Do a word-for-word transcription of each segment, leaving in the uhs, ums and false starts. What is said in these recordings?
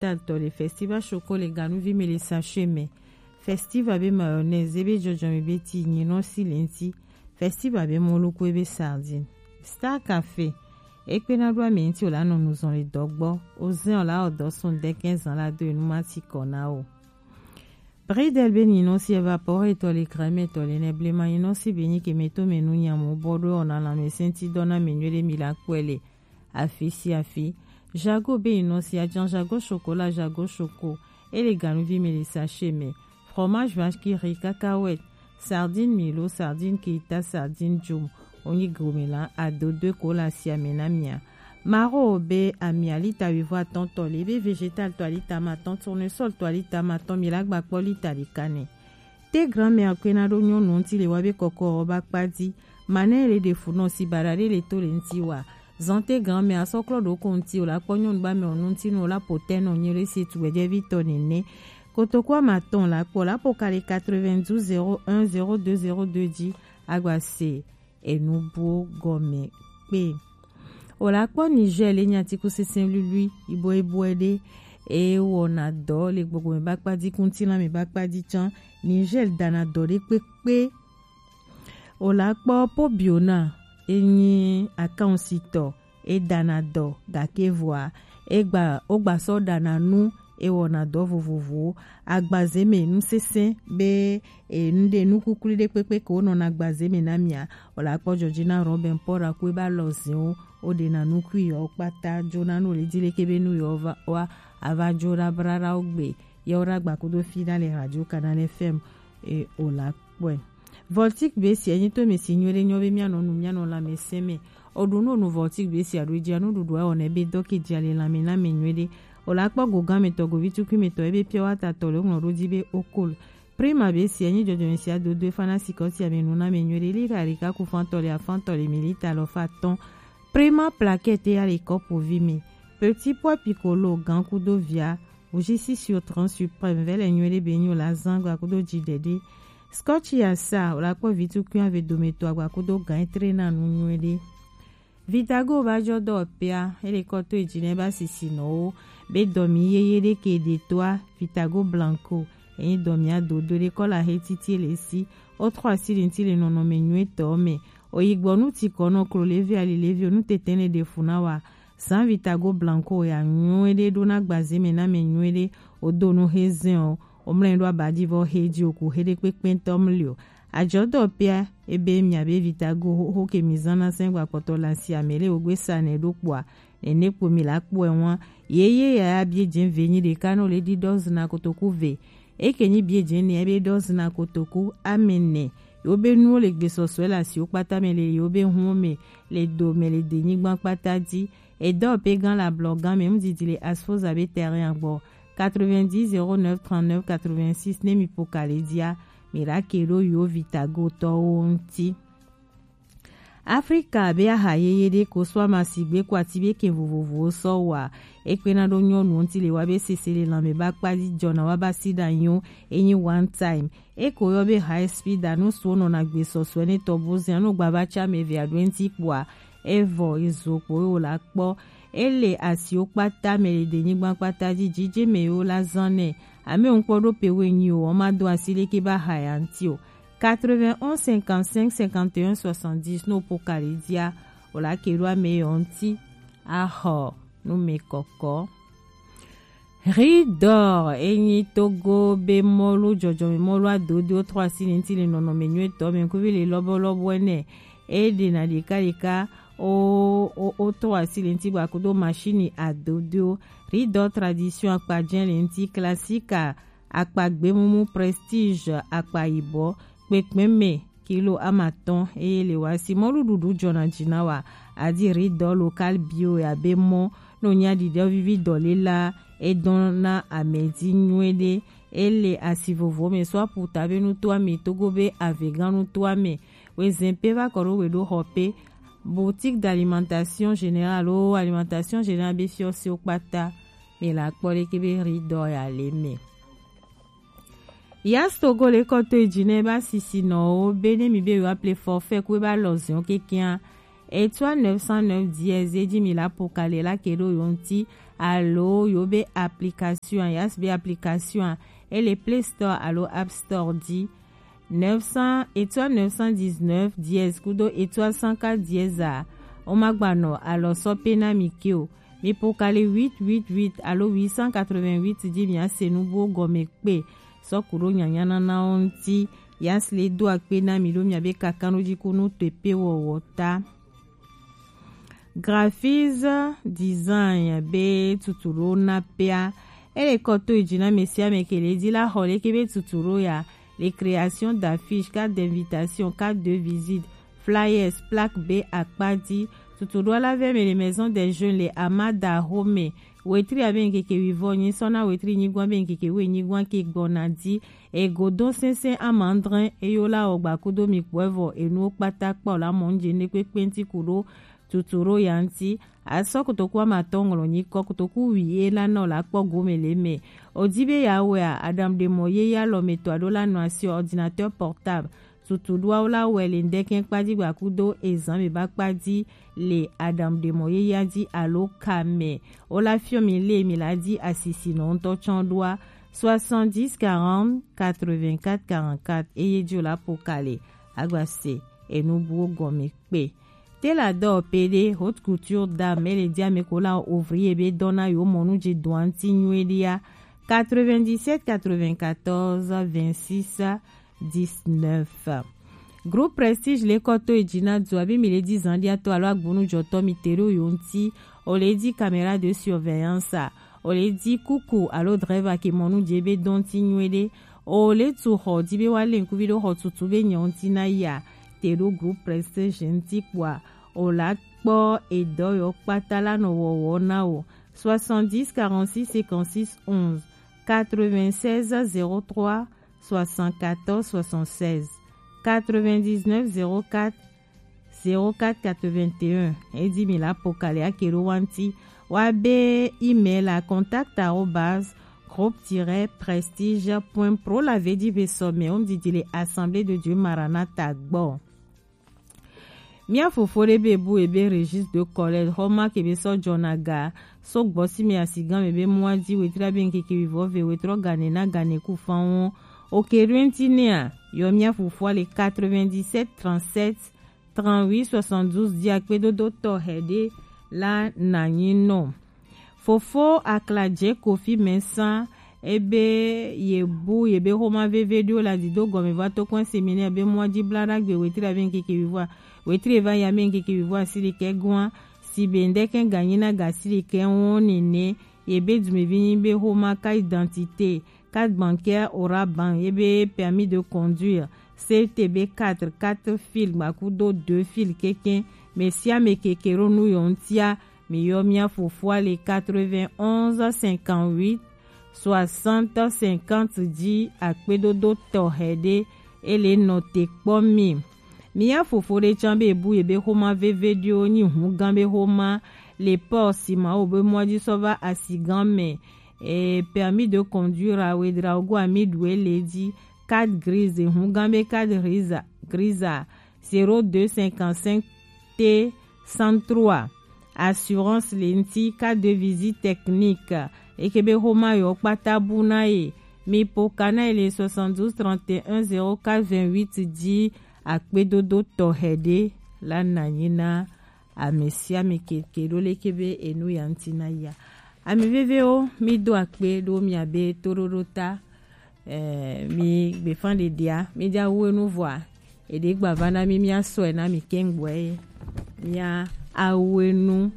Tal tɔ le festival choco le ganuvi me le sachet me. Festival be mayonnaise ebe jɔjɔme be ti nyinɔ si le ŋti. Festival be mɔluku ebe sardine. Star Café. Ekpena ɖo ame ŋti o la nɔ nuzɔn le dɔ gbɔ. O zɛn o la o dɔ sun dɛkɛn zan la do enu ma ti kɔ na o. Bridel be nyinɔ si evapore tɔ le crème tɔ le ne blema nyinɔ si be nyi ke me to me nu nyamo bɔ ɖo o na la me senti dɔ na me nyuie ɖe mi la kpɔe le. Afi si afi. Jago be yi nɔ si ajan jago chocolat jago choco. Ele ganuvi me le sachet me. Fromage vache qui rit, cacahuète, sardine milo, sardine keita, sardine jom. Onyi gomela ado de kola si amena mia. Maro be amia lita wivo atɔn tɔ le be végétal tɔ alita ma atɔn, tournesol tɔ alita ma atɔn mi la gba kpɔ lita ɖeka nɛ. Te grand-mère kpena ɖo nyɔnu ŋti le wa be kɔkɔ ɔ ba kpa di. Manɛ le ɖe fu nɔ si baɖa ɖe le to le ŋti wa. Zante grand-mère asɔ klɔ ɖo ko ŋti o la kpɔ nyɔnu ba mɛ o nu ŋti nu o la potɛ nɔ nyi le se tu gbɛjɛ vi tɔ nene. Kotoku ama tɔn la kpɔ la po kali quatre-vingt-douze zéro un zéro deux zéro deux dzi. Agba se enu buwo gɔme kpe. O la kpɔ Niger le nyi atikusese luilui iboiboe ɖe. E wɔna dɔ le gbogbo me ba kpa di, kuntina me ba kpa di can. Niger dana dɔ ɖe kpekpe. O la kpɔ Pobiona e nyi akansitɔ, e dana dɔ gake vɔa e gba o gba sɔ dana nu e wɔna dɔ vovovowo. Agbaze me nu sese be e nu ɖe nu kukui ɖe kpekpe ke wonɔna agbaze me na mia. O la kpɔ Georgina Robin Paul aku e ba lɔ ziwo o ɖe na nukui yɔ kpata jo na nu le di leke be nu yɔ va wa ava jo ɖa bra ɖa o gbe yɔ ɖa gba kudo fi ɖa le radio Canal F M. E o la kpɔe. Voltic be si enyi to mi si nyuie ɖe nyɔ be mia nɔ nu mia nɔ la me se me. O ɖu nu nu Voltic be si aɖo dzi anu ɖuɖu awɔ ne be dɔ ke dzi ale la me na me nyuie ɖe. O la kpɔ gogan me tɔ govi tukui me tɔ ebe pure water tɔ le ŋlɔ ɖo dzi be okol. Prima be si enyi jɔjɔme si ado do efa na sikɔ si ame nu na me nyuie ɖe lita ɖeka ku fan tɔ le afan tɔ le milita alɔfa atɔn. Prima plaquette ya le kɔpu vi me. Petit pois piccolo gan kudo via. Bougie si sur trente suprême vɛ le nyuie ɖe be nyo la zan gba kudo dzi ɖeɖe. Scotch ya sa o la kpɔ vi tukui ave dome to agba kudo gan etre na nu nyuie ɖe. Vitago ba jɔ dɔ pea ele kɔ to edzi ne ba sisi nɔwo be dɔ mi yeye ɖe ke ɖe toa Vitago Blanco. Enyi dɔ mi ado do ɖe kɔ la he titi le si o trɔ asi le ŋti le nɔnɔme nyuie tɔ me. O yi gbɔ nu ti kɔ nɔ klo levi ali levi o nu tete ne ɖe fu na wa. San Vitago Blanco ya nyuie ɖe ɖo na gbaze me na me nyuie ɖe o do nu he zɛn o. O mlɛ ɖo abadi vɔ he dzi o ku he ɖe kpekpe tɔ mli o. Ajɔ dɔ pea ebe mia be Vitago ho ke mi zan na sɛn gba kpɔtɔ la si ame le o gbe sa ne ɖo kpɔa. Nene kpo mi la kpɔe wan. Yeye ya ya bie dze ve nyi ɖeka no le ɖi dɔ zina kotoku ve. Eke nyi bie dze ne ebe dɔ zina kotoku ame ne. Yo be nuwo le gbesɔsɔe le asiwo kpata me le yo be hun me le do me le de nyigban kpata dzi. Edɔ pe gan la blɔ gan me mu didi le asfoza be terrain agbɔ. Quatre-vingt-dix zéro neuf trente-neuf quatre-vingt-six ne mi po ka le dia. Mi la ke ɖo yo Vitago tɔwo ŋti. Afrika be aha yeye ɖe ko sɔ ama sigbe ko ati be ke vovovowo sɔ wa. Ekpena ɖo nyɔnu ŋti le wa be sese le lanme ba kpa di jɔna wa ba si ɖa nyo enyi one time. Eko yɔ be high speed anu suwo nɔna gbesɔsɔe ne tɔ bo zɛn anu gba va tsa me ve aɖo ŋti kpoa. Evɔ ezo kpo ewo la kpɔ. Ele asiwo kpata me le de nyigban kpata dzi dzidze me yewo la zan nɛ. Ame ŋkpɔ ɖo pe wo enyi o, wɔma do asi leke ba ha ya ŋti o. Quatre-vingt-onze cinquante-cinq cinquante et un soixante-dix no po kali dia. O la ke ɖo ame yɔ ŋti. Ahɔ nu me kɔkɔ. Ridor enyi Togo be mɔlu jɔjɔme mɔlu adodo trɔ asi le ŋti le nɔnɔme nyuie tɔ me kuvi le lɔbɔ lɔbɔ ene. E ɖe na ɖeka ɖeka o o o trɔ asi le ŋti gba kudo machine adodo. Ridor tradition akpa jɛ le ŋti classique akpa gbemumu prestige akpa yibɔ kpekpe me kilo amatɔn eye le wa si mɔluɖuɖu jɔna dzi na wa. Adi Ridor local bio ya be mɔ no nya ɖiɖe vivi dɔ le la edɔn na amɛdi nyuie ɖe. Ele asi vovo me sɔ aputa be nutoa me Togo be avegã nutoa me. Wezɛn pe va kɔ ɖo we ɖo xɔ pe. Boutique d'alimentation générale o alimentation générale be fiɔ si o kpata. Me la kpɔ ɖe ke be Ridor ya le me. Yas Togo le kɔ to edzi ne ba sisi nɔwo be ne mi be yewoa ple forfait ku e ba lɔ ziɔ kekea. Etoile neuf cent neuf dièse edzi mi la po kali la ke ɖo yo ŋti. alo yo be application, Yas be application, e le Play Store alo App Store ji. Neuf cents, étoile neuf cent dix-neuf dièse kudo étoile cent quatre dièse a. O ma gba nɔ alɔ sɔ pe na mi ke o. Mi po kali huit huit huit alo huit cent quatre-vingt-huit ji mi a se nu buwo gɔme kpe. Sɔ kudo nyanya nana o ŋti. Yas le do akpe na mi ɖo mi a be kakanɖoji kunu to epe wɔwɔ ta. Graphics design be tutu ɖo na pea. E le kɔ to yi ji na mɛ sia mɛ ke le ji la xɔ leke be tutu ɖo ya. Les créations d'affiches, cartes d'invitation, cartes de visite, flyers, plaques be akpa ji. Tutu ɖo la vɛ mɛ le Maison des Jeunes le Amada Home. Wetri a be ŋkeke wivɔ nyi sɔ na wetri nyigban be ŋkeke we nyigban ke gbɔna ji. Egodo sɛnsɛn amandrɛn eyo la wɔ gba kudo mi kpɔ evɔ enuwo kpata kpɔ la mɔ ŋje ne kpekpe ŋti kudo tutu ɖo ya ŋti. Asɔ kotoku amatɔ ŋlɔ nyi kɔ kotoku wi e la nɔ la kpɔ gome le mɛ. O ji be ya wɛ a, aɖaŋuɖemɔ ye ya lɔ mɛ to aɖo la nɔ asi ordinateur portable. Tutu ɖoawo la wɛ le ŋdɛkɛn kpa ji gba kudo ezan be ba kpa ji le aɖaŋuɖemɔ ye ya ji alo ka mɛ. O la fiɔ mi le mi la ji asisi nɔ ŋtɔ tsɔ ɖoa soixante-dix quarante quatre-vingt-quatre quarante-quatre eye ji o la po kale agba se enu buwo gɔme kpe. Te la dɔ pe ɖe haute couture dame e le ji ame ko la ouvrier be dɔ na yo mɔnu ji dɔa ŋti nyuie ɖia quatre-vingt-dix-sept quatre-vingt-quatorze vingt-six dix-neuf. Groupe Prestige le kɔ to yi ji na du abi mi le ji zandiatɔ alo agbonu jɔtɔ mi te ɖo yo ŋti. O le ji caméra de surveillance a. O le ji kuku alo driver ke mɔnu je be dɔn ti nyuie ɖe. O le tu xɔ di be wa le ŋkuvi ɖo xɔ tutu be nyɛ ŋti na ya. Te ɖo Groupe Prestige ŋti kpɔa. O la kpɔ edɔ yɔ kpata la nɔ wɔwɔ na o. Soixante-dix quarante-six cinquante-six onze, quatre-vingt-seize zéro trois soixante-quatorze soixante-seize, quatre-vingt-dix-neuf zéro quatre zéro quatre quatre-vingt-un. E di mi la po kali ake ɖo wa ŋti. Wa be email a contact arobase groupe tiret prestige point pro la ve di ve sɔ mɛ o ŋdidi le Assemblée de Dieu Maranatha gbɔ. Mía fofo ɖe be bu ebe registre de collecte xɔ ma ke be sɔ jɔna ga so gbɔ si me asigan me be mɔa ji wetri abe ŋkeke wivɔ ve wetrɔ gane na gane ku fan wo. Oke ɖo ŋti nɛa, yɔ mía fofoa le quatre-vingt-dix-sept trente-sept trente-huit soixante-douze di akpedodo tɔxɛ ɖe la nanyi nɔ. Fofo Akladze Kofi Mensah ebe ye bu ye be xoma veve ɖo la dido gɔme va to kɔn séminaire be mɔa ji bla ɖagbe wetri abe ŋkeke wivɔ wetri va ya be ŋkeke wivɔ asiri kɛ gɔn si be ŋdɛkɛ ganyi na ga siri kɛ wɔn nene ye be dumevi nyi be xoma carte d'identité, carte bancaire Orabank ye be permis de conduire, C T B quatre, quatre fil gbakudo deux fil keke, mɛ sia mɛ keke ɖo nu yɔ ŋtia, mi yɔ mía fofoa le quatre-vingt-onze cinquante-huit soixante cinquante di akpedodo tɔxɛ ɖe, e le nɔ te kpɔ mi. Mía fofo ɖe can be bu ye be xoma veve ɖio nyi hugan be xoma le pɔ si ma wo be mɔa ji sɔ va asigan mɛ. E, permis de conduire a we dra ogo ami ɖu e le ji. Carte grise, hugan be carte grise, grise a zéro deux cinquante-cinq T cent trois. Assurance le ŋti, carte de visite technique. Eke be xoma yɔ kpata bu na ye. Mi po ka na ye le soixante-douze trente et un zéro quatre vingt-huit di akpedodo tɔxɛ ɖe la nanyi na ame sia ame keke ɖo leke be enu ya ŋti na ya. Ame vevewo, mi do akpe ɖo mia be toɖoɖo ta. Eh, mi gbefan ɖeɖea, mi ja wu enu vɔa, eɖe gba va na mi, mia sɔe na mi kengboe, mia awu enu.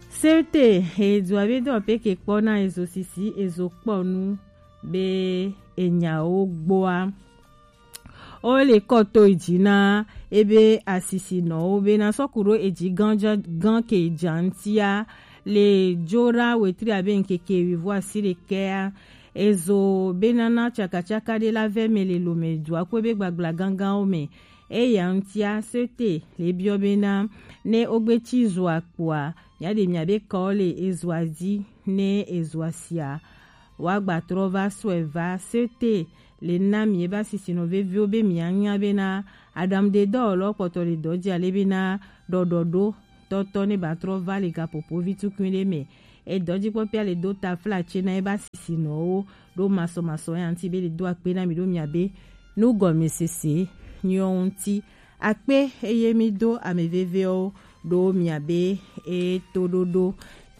Sete, edzo abe dɔ pe ke kpɔ na ezo sisi, ezo kpɔ nu be enyawo gboa. O le kɔ to yi ji na ebe asisinɔwo be na sɔ ku ɖo eji gan ja, gan ke ja ŋtia le jo ɖa wetri abe ŋkeke wivɔ asi ɖekɛa. Ezo be nana tsakatsaka ɖe la vɛ mɛ le lome dua ku ebe gbagbla ganganwo mɛ. Eya ŋtia sete le biɔ be na ne ogbe ci zoa kpoa, mia ɖe mia be kɔ le ezoa ji ne ezoa sia. Wa gba trɔ va sɔe va sete le na mi ebe asisinɔ veviwo be mia nya be na aɖaŋuɖedɔwɔlɔ kpɔtɔ le dɔ ji ale be na ɖɔɖɔɖo tɔtɔ ne ba trɔ va le gaƒoƒo vi tukui ɖe mɛ. Edɔjikpɔkpɔ le do ta fla ce na eba sisi nɔwo ɖo masɔmasɔ ya ŋuti be le do akpe na mi ɖo mia be nugɔmesese nyɔ ŋuti. Akpe eye mi do ame vevewo ɖo mia be e to ɖoɖo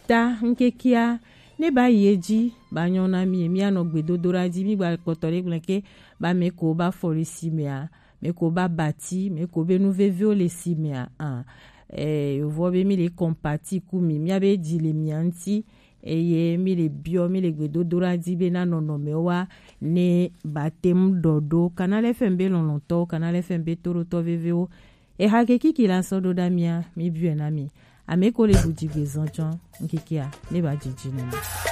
ta ŋkekea ne ba yi edzi ba nyɔ na mi, mia nɔ gbedodoɖa dzi, mi gba kpɔtɔ ɖe gblẽ ke ba me ko ba fɔ le si mea, me ko ba bati, me ko be nu vevewo le si mea, ah, eh, yovɔ be mi le compati ku mi, mia be dzi le mia ŋuti, eye mi le biɔ, mi le gbedodoɖa dzi be na nɔnɔmewo wa ne ba te ŋu ɖɔ ɖo. Canal F M be lɔlɔ̃tɔwo, Canal F M be toɖotɔ vevewo, eha ke kiki la sɔ ɖo ɖa mia, mi biɔe na mi. Ame ko le ɖu dzigbe zɔn tsɔ ŋkekea ne ba dzidzi nɔ mi.